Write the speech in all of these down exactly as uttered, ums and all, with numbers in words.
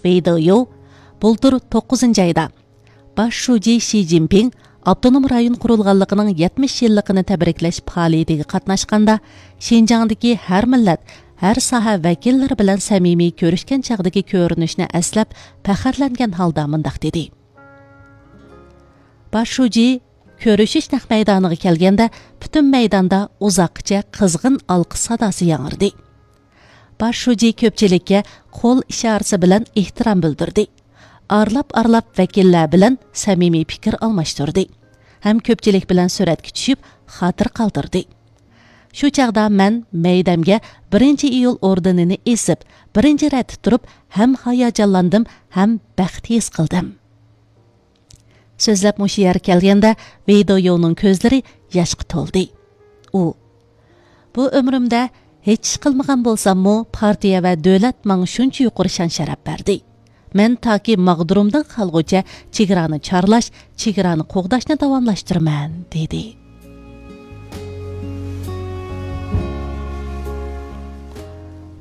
ۋېي دېيۇ بۇلتۇر توققۇزىنچى ئايدا باش شۇجى شى جىنپىڭ ئاپتونوم رايون قۇرۇلغانلىقىنىڭ يەتمىش يىللىقىنى تەبرىكلەش پائالىيىتىگە قاتناشقاندا، شىنجاڭدىكى ھەر مىللەت، ھەر ساھە ۋەكىللىرى بىلەن سەمىمىي كۆرۈشكەن چاغدىكى كۆرۈنۈشنى ئەسلەپ، پەخىرلەنگەن ھالدا مۇنداق دېدى: باش شۇجى كۆرۈشۈش نەق مەيدانىغا كەلگەندە، پۈتۈن مەيداندا ئۇزاققىچە قىزغىن ئالقىش ساداسى ياڭرىدى. باش شۇجى كۆپچىلىككە قول ئىشارىسى بىلەن ئېھتىرام بىلدۈردى. ئارىلاپ-ئارىلاپ ۋەكىللەر بىلەن سەمىمىي پىكىر ئالماشتۇردى ھەم كۆپچىلىك بىلەن سۈرەتكە چۈشۈپ، خاتىرە قالدۇردى. شۇ چاغدا مەن مەيدەمگە بىرىنچى ئىيۇل ئوردېنىنى ئېسىپ، بىرىنچى رەتتە تۇرۇپ، ھەم ھاياجانلاندىم، ھەم بەخت ھېس قىلدىم. سۆزلەپ مۇشۇ يەرگە كەلگەندە، ۋېي دېيۇنىڭ كۆزلىرى ياشقا تولدى. ئۇ: بۇ ئۆمرۈمدە ھېچ ئىش قىلمىغان بولساممۇ، پارتىيە ۋە دۆلەت ماڭا شۇنچە يۇقىرى شان-شەرەپ بەردى. مەن تاكى ماغدۇرۇمدىن قالغۇچە چېگرانى چارلاش، چېگرانى قوغداشنى داۋاملاشتۇرىمەن، دېدى.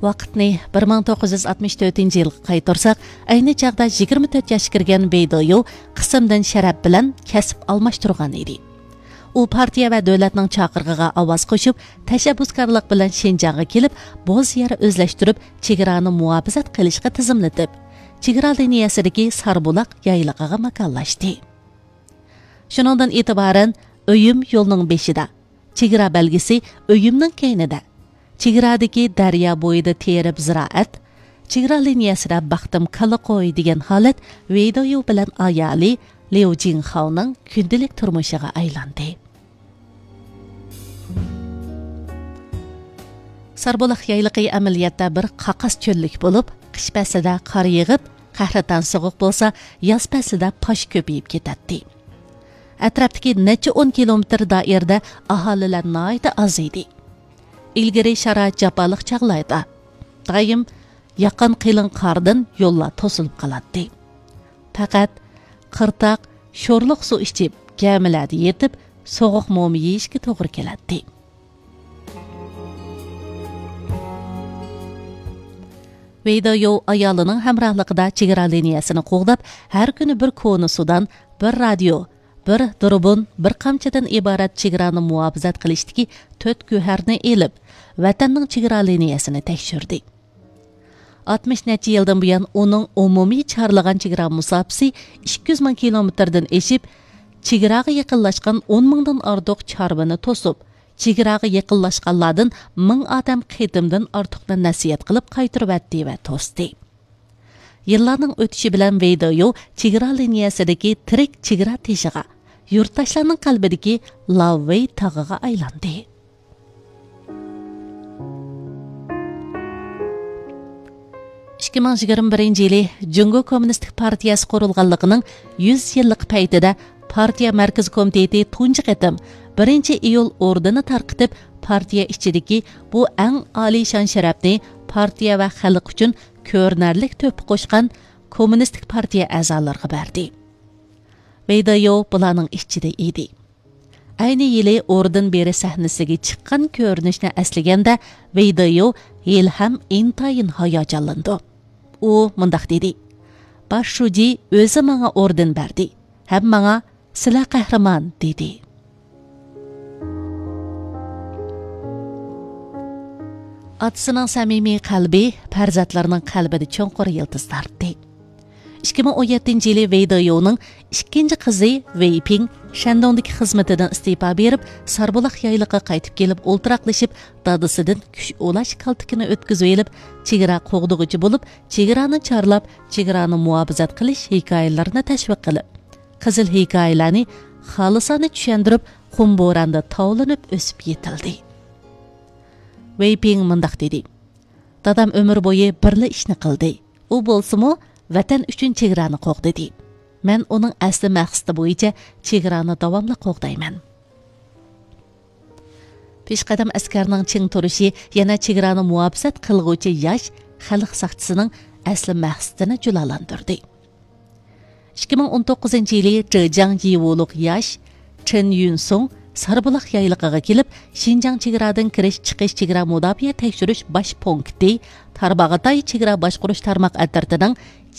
ۋاقىتنى بىر مىڭ توققۇز يۈز ئاتمىش تۆتىنچى يىلغا قايتۇرساق، ئەينى چاغدا يىگىرمە تۆت ياشقا كىرگەن ۋېي دېيۇ قىسىمدىن شەرەپ بىلەن كەسىپ ئالماشتۇرغان ئىدى. ئۇ پارتىيە ۋە دۆلەتنىڭ چاقىرىقىغا ئاۋاز قوشۇپ، تەشەببۇسكارلىق بىلەن شىنجاڭغا كېلىپ، بوز يەر ئۆزلەشتۈرۈپ، چېگرانى مۇھاپىزەت قىلىشقا تىزىملىتىپ، چېگرا لىنىيەسىدىكى ساربۇلاق يايلىقىغا ماكانلاشتى. شۇنىڭدىن ئېتىبارەن، ئۆيۈم يولنىڭ بېشىدا، چېگرا بەلگىسى ئۆيۈمنىڭ كەينىدە، چېگرادىكى دەريا بويىدا تېرىپ زىرائەت، چېگرا لىنىيەسىدە باقتىم كالا قوي دېگەن ھالەت ۋېي دېيۇ بىلەن ئايالى ليۇ جىڭخاۋنىڭ كۈندىلىك تۇرمۇشىغا ئايلاندى. ساربۇلاق يايلىقى ئەمەلىيەتتە بىر قاقاس چۆللۈك بولۇپ، قىش پەسلىدە قار يېغىپ، قەھرىتان سوغۇق بولسا، ياز پەسلىدە پاش كۆپىيىپ كېتەتتى. ئەتراپتىكى نەچچە ئون كىلومېتىر دائىرىدە ئاھالىلەر ناھايىتى ئاز ئىدى. ئىلگىرى شارائىت جاپالىق چاغلاردا دائىم ياققان قېلىن قاردىن يوللار توسۇلۇپ قالاتتى. پەقەت قىرتاق، شورلۇق سۇ ئىچىپ، گەمىلەردە يېتىپ، سوغۇق موما يېيىشكە توغرا كېلەتتى. ۋېي دېيۇ ئايالىنىڭ ھەمراھلىقىدا چېگرا لىنىيەسىنى قوغداپ، ھەر كۈنى بىر كونا سۇدان، بىر رادىيو، بىر دۇربۇن، بىر قامچىدىن ئىبارەت چېگرانى مۇھاپىزەت قىلىشتىكى تۆت گۆھەرنى ئېلىپ، ۋەتەننىڭ چېگرا لىنىيەسىنى تەكشۈردى. ئاتمىش نەچچە يىلدىن بۇيان ئۇنىڭ ئومۇمىي چارلىغان چېگرا مۇساپىسى ئىككى يۈز مىڭ كىلومېتىردىن ئېشىپ، چېگراغا يېقىنلاشقان ئون مىڭدىن ئارتۇق چارۋىنى توسۇپ، چېگراغا يېقىنلاشقانلاردىن مىڭ ئادەم قېتىمدىن ئارتۇقنى نەسىھەت قىلىپ قايتۇرۇۋەتتى ۋە توستى. يىللارنىڭ ئۆتۈشى بىلەن ۋېي دېيۇ چېگرا لىنىيەسىدىكى تىرىك چېگرا تېشىغا، يۇرتداشلارنىڭ قەلبىدىكى لاۋۋېي تاغىغا ئايلاندى. ئىككى مىڭ يىگىرمە بىرىنچى يىلى جۇڭگو كوممۇنىستىك پارتىيەسى قۇرۇلغانلىقىنىڭ يۈز يىللىق پەيتىدە پارتىيە مەركىزىي كومىتېتى تۇنجى قېتىم بىرىنچى ئىيۇل ئوردېنى تارقىتىپ، پارتىيە ئىچىدىكى بۇ ئەڭ ئالىي شان-شەرەپنى پارتىيە ۋە خەلق ئۈچۈن كۆرۈنەرلىك تۆھپە قوشقان كوممۇنىستىك پارتىيە ئەزالىرىغا بەردى. ۋېي دېيۇ بۇلارنىڭ ئىچىدە ئىدى. ئەينى يىلى ئوردېن بېرىش سەھنىسىگە چىققان كۆرۈنۈشنى ئەسلىگەندە، ۋېي دېيۇ ھېلىھەم ئىنتايىن ھاياجانلىنىدۇ. ئۇ مۇنداق دېدى: باش شۇجى ئۆزى ماڭا ئوردېن بەردى ھەم ماڭا «سىلەر قەھرىمان» دېدى. ئاتىسىنىڭ سەمىمىي قەلبى پەرزەنتلىرىنىڭ قەلبىدە چوڭقۇر يىلتىز تارتتى. ئىككى مىڭ ئون يەتتىنچى يىلى ۋېي دېيۇنىڭ ئىككىنچى قىزى ۋېي پىڭ شەندۇڭدىكى خىزمىتىدىن ئىستېپا بېرىپ، ساربۇلاق يايلىقىغا قايتىپ كېلىپ ئولتۇراقلىشىپ، دادىسىدىن كۈچ ئۇلاش كالتىكىنى ئۆتكۈزۈۋېلىپ، چېگرا قوغدىغۇچى بولۇپ، چېگرانى چارلاپ، چېگرانى مۇھاپىزەت قىلىش ھېكايىلىرىنى تەشۋىق قىلىپ، قىزىل ھېكايىلەرنى خالىسانە چۈشەندۈرۈپ، قۇم بوراندا تاۋلىنىپ ئۆسۈپ يېتىلدى. ۋېي پىڭ مۇنداق دېدى: دادام ئۆمۈر بويى بىرلا ئىشنى قىلدى. ئۇ بولسىمۇ ۋەتەن ئۈچۈن چېگرانى قوغدىدى. مەن ئۇنىڭ ئەسلى مەقسىتى بويىچە چېگرانى داۋاملىق قوغدايمەن. پېشقەدەم ئەسكەرنىڭ چىڭ تۇرۇشى يەنە چېگرانى مۇھاپىزەت قىلغۇچى ياش خەلق ساقچىسىنىڭ ئەسلى مەقسىتىنى جۇلالاندۇردى. ئىككى مىڭ ئون توققۇزىنچى يىلى جېجياڭ يىۋۇلۇق ياش چېن يۈنسۇڭ ساربۇلاق يايلىقىغا كېلىپ، شىنجاڭ چېگرادىن كىرىش چىقىش چېگرا مۇداپىئە تەكشۈرۈش باش پونكىتى، تارباغاتاي چېگرا باشقۇرۇش تارماق ئەترىتىنىڭ